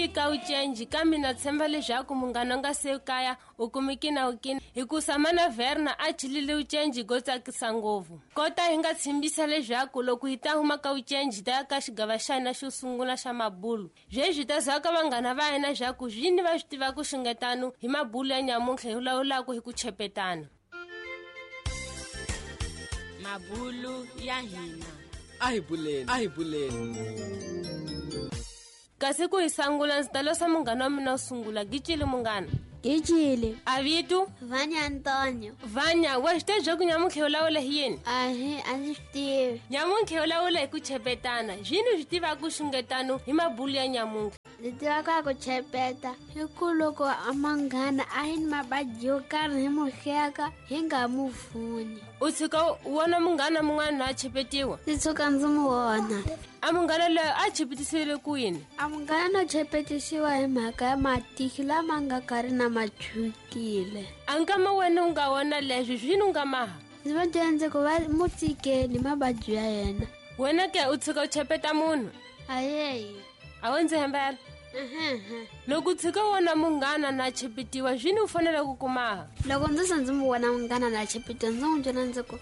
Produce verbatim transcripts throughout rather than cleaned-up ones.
Humile ka ucenji kambe na tshemba leswaku munghana nga se kaya u kumiki na ukini hikusa mana Verna a chilile ucenji go tsakisa ngopfu. Kota hi nga tshimbisa leswaku loko hi ta huma ka ucenji ta ka xigava xa hina xo sungula xa mabulu. Sweswi ta zaka vanghana va hina swaku swini va swi tiva ku xingetano hi mabulu ya nyamuntlha hi lawulaka hi ku chepetana. Mabulu ya hina. A hi buleni, a hi buleni. Kasi ku hi sangula ndzi ta losa munghana wa mina wo sungula Gicile munghana. Gicile. A vito? Vanya Antonio. Vanya, wa swi tiva ku nyamuntlha u lawula hi yini? Ahi, a ndzi swi tivi. Nyamuntlha u lawula hi ku chepetana. Zwini swi tiva ku xungetano hi mabulu ya nyamuntlha. Ndzi tiva ka ku chepeta hi ku loko a manghana a hi ni mabadi yo karhi hi mu hleka hi nga mu vuni. U tshuka u vona munghana mun'wana a chepetiwa? Ndzi tshuka ndzi mu vona. A munghana loyi a chepetisiwile ku yini? A munghana no chepetisiwa hi mhaka ya matihlo lama nga karhi na machukile. A nkama wena u nga vona leswi swini u nga maha? Ndzi va byela ndzi ku va mu tsikeni mabadi ya yena. Wena ke u tshuka u chepeta munhu? Ayeyi. A wu ndzi hembela? Loko u tshika wona munghana na chepetiwa swini u fanele ku kumaha? Loko ndzi se ndzi mu vona munghana na chepetiwa ndzi n'wi byela ndzi ku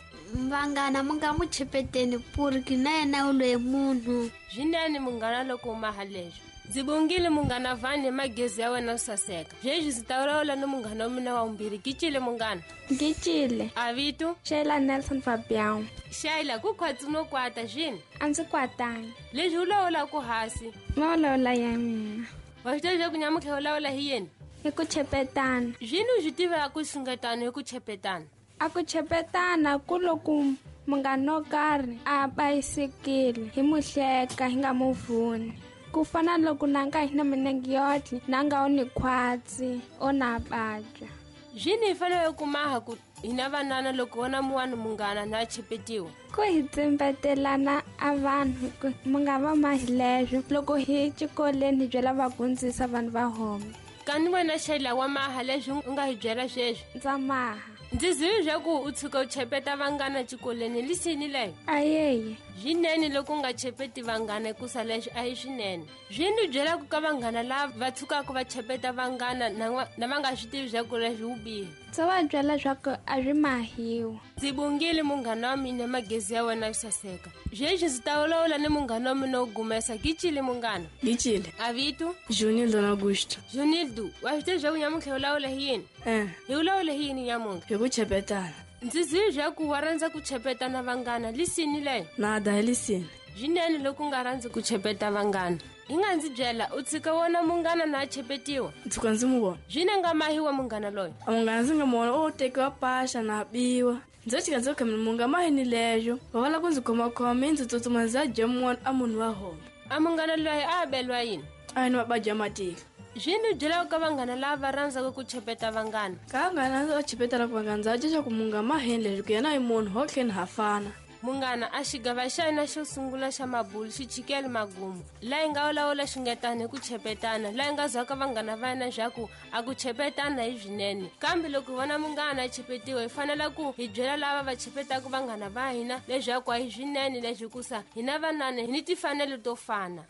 vanghana mu nga mu chepeteni puriki na yena u loyi munhu. Swinene munghana loko u maha leswi. Ndzi bongile munghana Vani hi magezi ya wena yo saseka. Sweswi ndzi ta vulavula ni munghana wa mina wa vumbirhi Gicile munghana. Gicile. A vito? Sheila Nelson Fabian. Sheila ku khwatsi no kwata swini? A ndzi kwatangi. Leswi u lawulaka hasi? Ma vulavula ya mina. Wa swi tiva leswaku nyamuntlha u lawula hi yini? Hi ku chepetana. Swini u swi tivaka ku xungetano hi ku chepetana? A ku chepetana ku loko munghana wo karhi a bayisikile hi mu hleka hi nga mu vuni. Ku fana loko nanga hi na minenge yotlhe nanga u ni khwatsi o na badya. Swini hi fanele ku maha ku hina vanana loko vona muwani munghana na chepetiwa? Ku hi tsimbetelana a vanhu ku mu nga va mahi leswo loko hi xikolweni hi byela vagundzisa vanhu va homa. Kani wena Sheila wa maha leswi u nga hi byela sweswi? Ndza maha. Ndzi zivi swa ku u tshuka u chepeta vanghana xikolweni lisini leyo? Ayeyi. Swinene loko u nga chepeti vanghana hikusa leswi a hi swinene. Swini byelaka ka vanghana lava va tshukaka va chepeta vanghana na na va nga swi tivi swa ku leswi wu bihi? Ndzi va byela swa ku a swi mahiwa. Ndzi bongile munghana wa mina magezi ya wena yo saseka. Sweswi ndzi ta vulavula ni munghana wa mina wo gumesa Gicile munghana. Gicile. A vito? Junildo Augusto. Junildo, wa swi tiva swa ku nyamuntlha u lawula hi yini? Eh. Hi vulavula hi yini nyamuntlha? Hi ku chepetana. Ndzi zivi swa ku wa rhandza ku chepetana vanghana lisini leyo? Nada hi lisini. Swinene loko u nga rhandzi ku chepeta vanghana. Hi nga ndzi byela u tshika wona munghana na chepetiwa? Ndzi tshuka ndzi mu vona. Swini nga mahiwa munghana loyi? A munghana ndzi nga mu vona o tekiwa paxa na biwa. Ndzi tshika ndzi khamile munga mahini leyo. Va vala ku ndzi khomakhoma ndzi tsutsuma ndzi ya dya mun'wana a munhu wa homa. A munghana loyi a abelwa yini? A ni mabadi ya matihlo. Swini byelaka ka vanghana lava va rhandzaka ku chepeta vanghana? Ka vanghana va chepetana ku vanghana ndza dya ku munga mahini leswi ku yena i munhu ho tlheni ha fana. Munghana a xigava xa hina xo sungula xa mabulu xi chikele magumu. Laha hi nga vulavula xingetana hi ku chepetana, laha hi nga zwaka vanghana va hina swa ku a ku chepetana hi swinene. Kambe loko hi vona munghana a chepetiwa hi fanele ku hi byela lava va chepetaka vanghana va hina leswaku a hi swinene leswi hikusa hina vanana hi ni timfanelo to fana.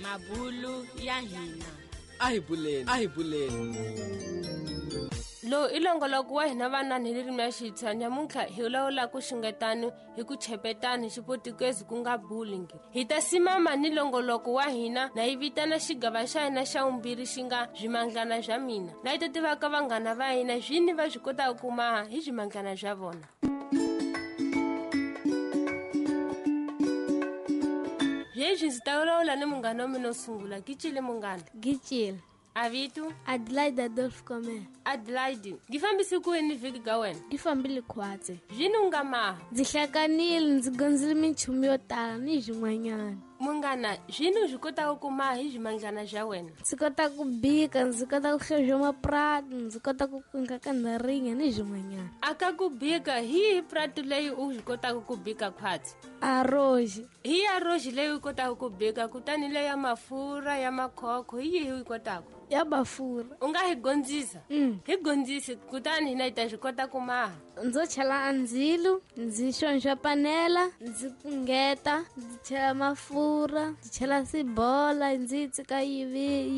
Mabulu ya hina. A hi buleni, a hi buleni. Lowu i longoloko wa hina vanana hi ririmi ra Xitsonga nyamuntlha hi vulavula ku xungetano hi ku chepetana hi xipotukezi ku nga bullying. Hi ta simama ni longoloko wa hina na hi vitana xigava xa hina xa vumbirhi xi nga swimandlana swa mina. Laha hi ta tivaka vanghana va hina swini va swi kotaka ku maha hi swimandlana swa vona. Sweswi ndzi ta vulavula ni munghana wa mina wo sungula Gicile munghana. Gicile. A vito? Adelaide Adolf Comer. Adelaide, ngi fambisi ku yini vhiki ka wena? Ngi fambile khwatsi. Swini u nga maha? Ndzi hlanganile ndzi gondzile minchumu yo tala ni swin'wanyana. Munghana, swini u swi kotaka ku maha hi swimandlana swa wena? Ndzi kota ku bika, ndzi kota ku hlohla mapurati, ndzi kota ku kunga kandharinga ni swin'wanyana. A ka ku bika, hi yihi purati leyi u swi kotaka ku bika khwatsi? Aroji. Hi ya roji leyi u kotaka ku bika, kutani leyi ya mafurha ya makhokho hi yihi u yi kotaka? Ya mafurha. U nga hi gondzisa? Mm. Hi gondzisi kutani hina hi ta swi kota ku maha. Ndzo chela ndzilo, ndzi xonxa panela, ndzi pungeta, ndzi chela mafurha, ndzi chela sibola, ndzi yi tsika yi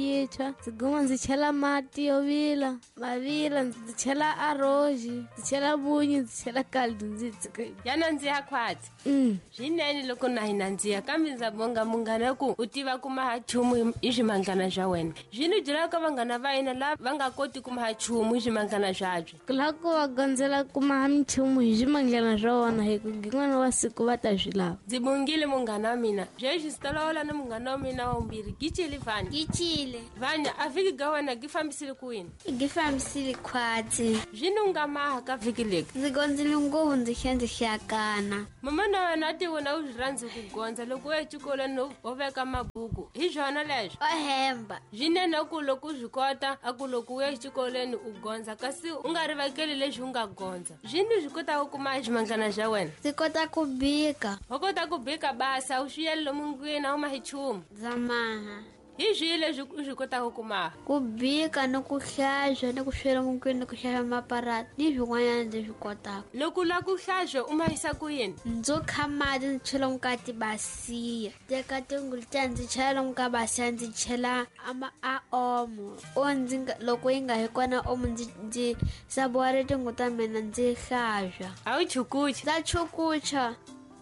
yi tshwa, ndzi guma ndzi chela mati yo vila, ma vila, ndzi chela arroz, ndzi chela munyu, ndzi chela caldo, ndzi yi tsika yi Ya nandziha khwatsi. Mm. Swinene loko na hi nandziha kambe ndza bonga munghana ku u tiva ku maha nchumu hi swimanglana swa wena. Zwino byela ka vanghana va hina lava va nga koti ku maha nchumu hi swimanglana swabyo. Ku lava ku va gondzela ku maha minchumu hi swimanglana swa vona hi ku rin'wana wa siku va ta swi lava. Ndzi bongile munghana wa mina. Sweswi ndzi ta lawula na munghana wa mina wa vumbirhi. Gicile Vanya. Gicile. Vanya, a vhiki ga wena gi fambisile ku yini? Gi fambisile khwatsi. Zwino u nga maha ka vhiki leri? Ndzi gondzile ngopfu ndzi tlhela ndzi hlakana. Mama na wena a ti vona u swi rhandzi ku gondza loko u ya exikolweni u veka mabuku. Hi swona leswo? O hemba. Swinene ku loko u swi kota a ku loko u ya exikolweni u gondza kasi u nga rivakeli leswi u nga gondza. Zwino swi kotaka ku kuma swimanglana swa wena? Ndzi kota ku bika. Wa kota ku bika basa, u swi yeli lomu ndlwini a wu mahi nchumu? Ndza maha. Hi swihi leswi u swi kotaka ku maha? Ku bika ni ku hlantswa ni ku swela mundlwini ni ku xava maparati ni swin'wanyana ndzi swi kotaka. Loko u lava ku hlantswa u mahisa ku yini? Ndzo kha mati ndzi chela lomu ka tibasiya. Teka tingulu tiya ndzi chela lomu ka basiya ndzi chela a ma a omo. O ndzi nga loko yi nga hi kona omo ndzi ndzi sabuwari tinguvu ta mina ndzi hlantswa. A wu chukuchi? Ndza chukucha.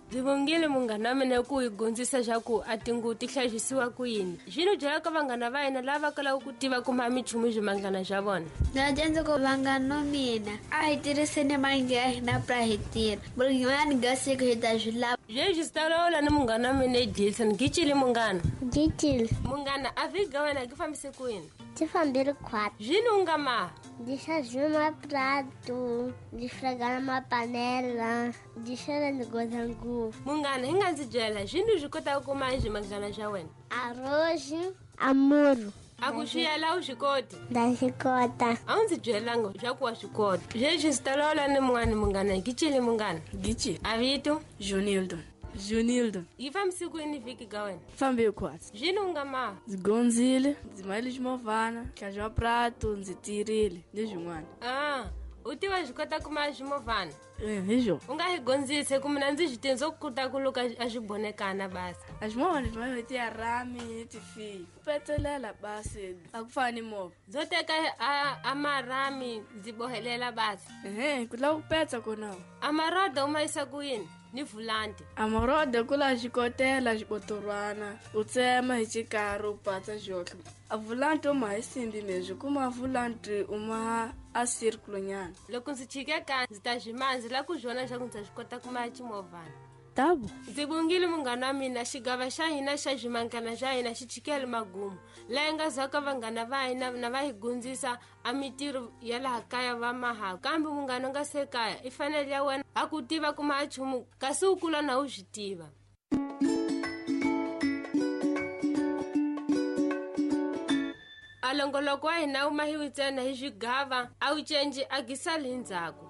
Ndzi vongile munghana wa mina ku hi gondzisa swa ku a tinguvu ti hlayisiwa ku yini. Zwino byela ka vanghana va hina lava kalaka ku tiva ku maha minchumu hi swimanglana swa vona. Ndzi dyondza ku vanghana va mina a hi tirhiseni mali ya hina pra hi tirha. Rin'wana ga siku hi ta swi lava. Sweswi ndzi ta lawula ni munghana wa mina Edilson. Gicile munghana. Gicile. Munghana a vhiki ga wena gi fambise ku yini? Ndzi fambile khwatsi. Zwino u nga maha? Ndzi hlantswile maprato, ndzi frega mapanela, ndzi tlhela ndzi gondza nguvu. Munghana, hi nga ndzi byela zwino swi kotaka ku maha swimanglana swa wena? Arroz, amuro. A ku swi yela u swi koti? Ndza swi kota. A wu ndzi byelanga swa ku wa swi kota. Sweswi ndzi ta lawula ni mun'wana munghana. Gicile munghana. Gicile. A vito? Jonildo. Jonildo. Yi fambise ku yini vhiki ga wena? Fambe khwatsi. Zwino u nga maha? Ndzi gondzile, ndzi mahile ximovhana, hlantswa maprato, ndzi tirhile ni swin'wana. Ah, u tiva swi kota ku maha ximovhana? Eh, hi xona. U nga hi gondzise ku mina ndzi swi tivi ndzo kota ku luka a swi bonekana basi. A ximovhana xi mahiwa hi tiarami ni tifiyo. Ku petselela basi a ku fani ni movha. Ndzo teka a a marami ndzi bohelela basi. Ehe, ku lava ku petsa kona. A maroda u ma yisa ku yini? Ni vulanti. A maroda ku la xikotela xibotorwana, u tsema hi xikari u patsa xohlo. A vulanti u ma hi simbi meswi kuma vulanti u ma a circle nyana. Loko ndzi chike ka ndzi ta swi maha ndzi lava ku swi vona leswaku ndzi ta swi kota ku maha ximovhana. Tabo. Ndzi vongile munghana wa mina xigava xa hina xa swimanglana swa hina xi chikele magumu. Laha nga zaka vanghana va hina na va hi gundzisa a mitirho ya laha kaya va maha. Kambe munghana u nga se kaya i fanele ya wena a ku tiva ku maha nchumu kasi u kula na u swi tiva. A longoloko wa hina wu mahiwi ntsena hi swigava a wu cinci a gisali hi ndzhaku.